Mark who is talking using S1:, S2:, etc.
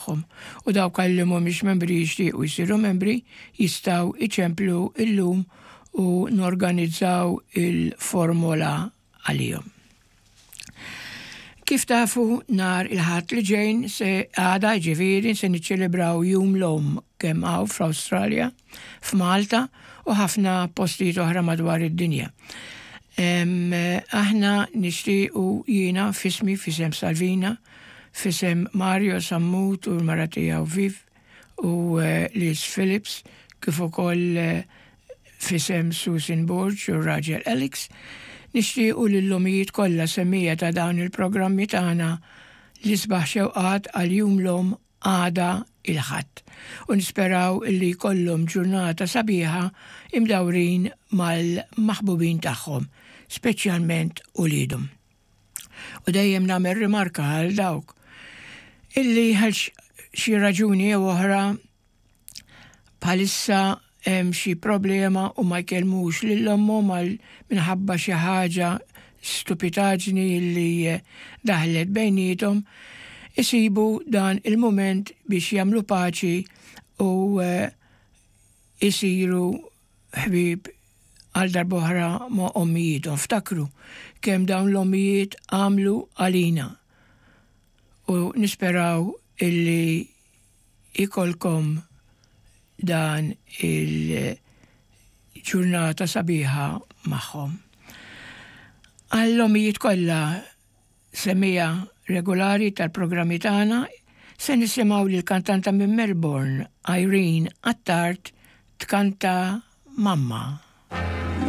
S1: Tagħhom u dawk li mhumiex membri jixtiequ jsiru membri jistgħu jċemplu illum u norganizzaw il-formola għalihom. Kif tafu nhar il-Ħadd li ġejn se għada ġifieri se niċċelebraw Jum l-Omm kemm hawn fl-Awstralja, f'Malta u ħafna postijiet oħra madwar id-dinja. Aħna nixtiequ jiena f'ismi f'isem Salvina F'isem Mario Sammut u l-mara tiegħu Viv u Liz Phillips, kif ukoll f'isem Susan Borg u r-raġel Alex, nixtiequ lill-ommijiet kollha semmiegħa ta' dawn il-programmi tagħna l-isbaħ xewqat għal Jum l-Omm għada il-Ħadd u nisperaw illi jkollhom ġurnata sabiħa imdawrin mal-maħbubin tagħhom, speċjalment uliedhom. U dejjem nagħmel rimarka għal dawk illi għal xi raġuni jew oħra bħalissa hemm xi problema u ma jkellmux lil ommhom għal minħabba xi ħaġa stupitaġni li daħlet bejniethom, isibu dan il-mument biex jagħmlu paċi u eh, isiru ħbieb għal darb'oħra ma' ommijiethom. Ftakru kemm dawn l-ommijiet għamlu għalina u nisperaw illi ikolkom dan il-ġurnata sabiħa magħhom. Għall-ommijiet kollha Semmiegħa regolari tal-programmi tagħna, se nisimgħu lill-kantanta minn Melbourne, Irene Attard, tkanta Mamma.